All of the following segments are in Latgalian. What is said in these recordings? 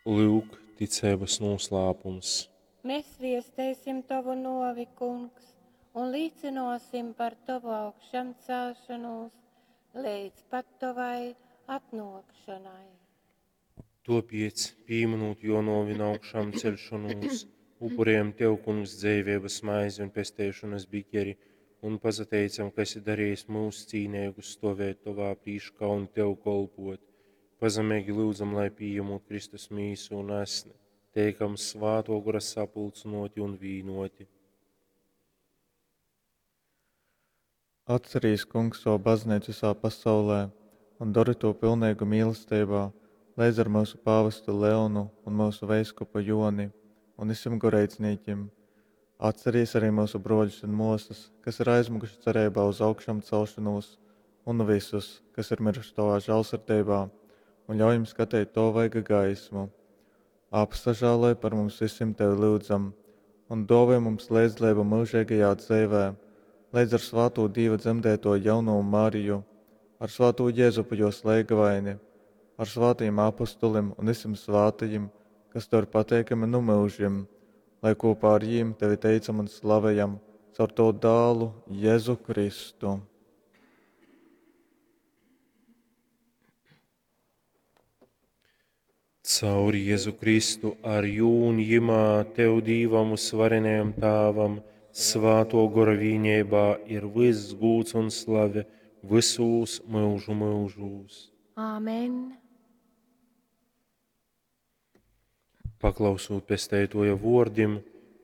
Lyuk, ticeibas nūslāpums. Mēs viesteisim tovu novi, kungs, un līcinosim par tovu augšamcelšanos leidz pat tovai atnōkšanai. Topiec, pīminūt jo novi un augšām celšanos, upurējam Tev, Kungs, dzeiveibas maizi un pesteišanas bikeri, un pasateicam, ka esi darījis mūs cīneigus stovēt Tovā prīškā un Tev kolpot. Pazemeigi lyudzam, lai pījemot Kristus mīsu un asni, teikam svāto gora sapulcynoti un vīnoti. Atcerīs, Kungs, savu baznīcu visā pasaulē un dori to pilnīgu mīlestībā, leidz ar mūsu pāvestu Leonu un mūsu veiskupu Joni un visiem goreidznīkim. Atcerīs arī mūsu broļus un mosas, kas ir aizmukuši cerībā uz augšām celšanos, un visus, kas ir miruši tavā žēlsirdībā, un ļauj jums skatīt to vaiga gaismu. Apsažāloj par mums visiem tevi lūdzam, un dāvā mums līdzdalību mūžīgajā dzīvē, līdz ar svāto Dieva dzemdēto jauno Mariju, ar svāto Jēzupu jos leigavaini, ar svātajiem apustulim un visiem svātajiem, kas tev ir pateikami nu mūžiem, lai kopā ar jiem tevi teicam un slavējam caur tavu dālu Jēzu Kristu. Caur Jēzu Kristu, ar jū un jimā, Tev Dīvam uzvarenajam Tāvam, svāto gora vīnībā ir viss gūds un slave visūs mūžu mūžūs. Āmen. Paklausūt pesteitoja vordim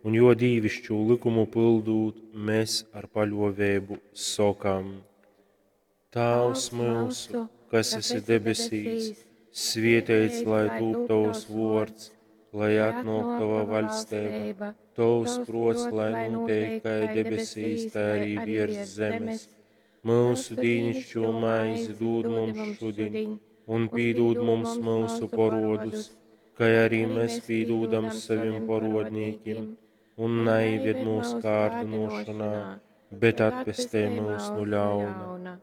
un jo dīvišķu likumu pildūt, mēs ar paļovēbu sokam. Tāvs mūsu, kas esi debesīs, svietēts, lai tūp tavs vords, lai atnāk tava vaļsteiba, tavs prots, lai notiek kā debesīs, tā arī virs zemes. Mūsu dīnišķo maizi dod mums šodien, un pīdūd mums mūsu parodus, kā arī mēs pīdūdam saviem parodnīkiem, un neieved mūsu kārdinošanā, bet atpestē mūs no ļauna.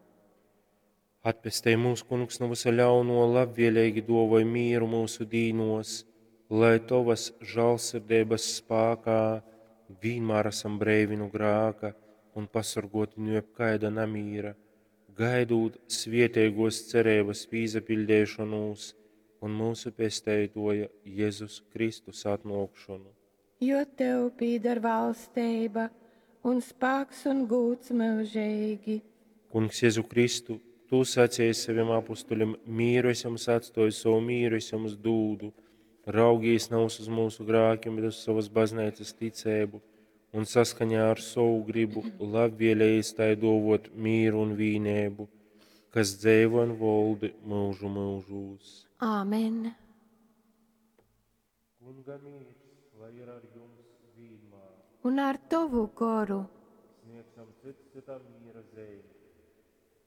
Atpestē mūs, kungs, no visa ļauno, labvēlīgi dovoj mīru mūsu dīnos, lai tovas žālsirdības spākā vienmēr esam breivi no grāka un pasargoti no jebkaida namīra, gaidūt svietēgos cerības pīzapildēšanos un mūsu pesteitoja Jēzus Kristus atnākšanu. Jo tev pīdar valsteiba un spāks un gūts mūžīgi. Kungs Jēzu Kristu, tu sacīji saviem apustuļiem, mīru es jums atstoju, savu mīru es jums dūdu. Raugīs nav uz mūsu grākiem, bet uz savas baznīcas ticēbu, un saskaņā ar savu gribu labvēlējis tai dovot mīru un vīnēbu, kas dzēvo un voldi mūžu mūžūs. Āmen. Kunga mīrs, lai ir ar jums vienmēr. Un ar tavu goru. Sniedzam cits citam mīra zīmi.